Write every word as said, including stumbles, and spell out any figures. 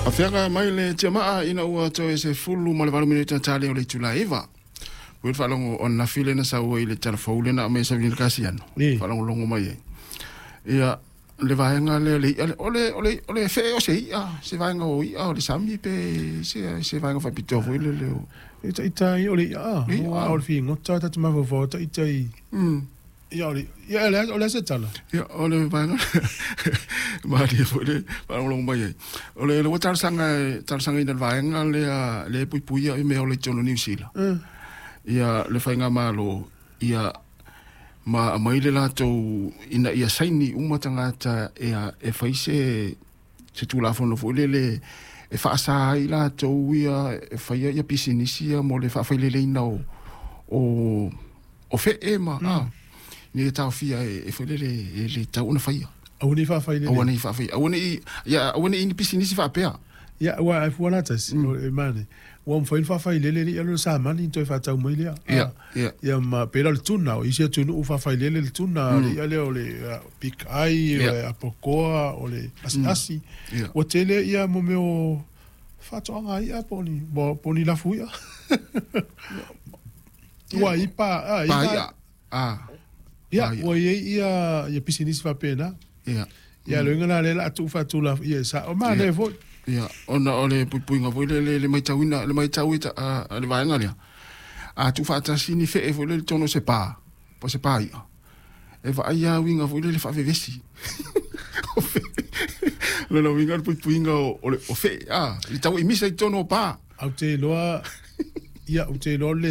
Afeaga mai le tiamaa ina ua toe sefulu ma le valu minute tale o le itula e iva. Ua le faalogo o ananafi lena sau ai le talafou lena aumai e Savini Kasiano. Ī. Faalogologo mai ai. Ia, le vaega lea le i'a o le o le o le fe'e o se i'a, se vaega o i'a o le sami pe se se vaega faapitoa foi lele o E ta'ita ai o le i'a, Le i'a. A o le figota ta te mafaufau ta'ita i Mm. ia o le ia o le o le a se tala. Ia, o le vaega malie foi le faalogologo mai ai. O le ua talosaga e talosagaina le vaega lea le puipuia i mea o le totonu o Niu Sila. Mm. Ia le faigamalo ia ma aumai le latou ina ia saini uma tagata e e fai se se tulafono foi lele e faasa ai latou ia e faia ia pisinisi ia mo le faafaileleina o o o fe'e ma mm. a ina ia taofia e, e foi lele e le tau ona faia. Aua nei faafailele. Aua nei faafai aua nei ia aua nei ni pisinisi faapea. Ia ua ai fua la tasi o e mane. Ua mafai ona faafailele le ia le samani toe faatau mai lea. Ia, ia. Ia ma pela le tuna o isi atunuu faafailele le tuna le ia lea o le big eye o le apokoa o le asiasi. Ia. Ua tele ia mo mea o faatoaga ia po o ni po o ni lafu ia. Ua i pa a Pa ia. Ah. Ia Pa ia. ua i ai ia ia pisinisi faapena. Ia. Ia le uiga la lea o le a tuufaatula ia sa o manaia foi. Ia, ona o le puipuiga foi lele le matauina, le matau i ta, a, le vaega lea. A tuufaatasi ni fe'e foi lele totonu o se pa, po o se pa i'a. E vaai lava uiga foi lele faavevesi. O fe'e. Lona uiga o le puipuiga o, o, le, o fe'e, a, i le tau imisa i totonu o pa. Ou te iloa ia ou te iloa le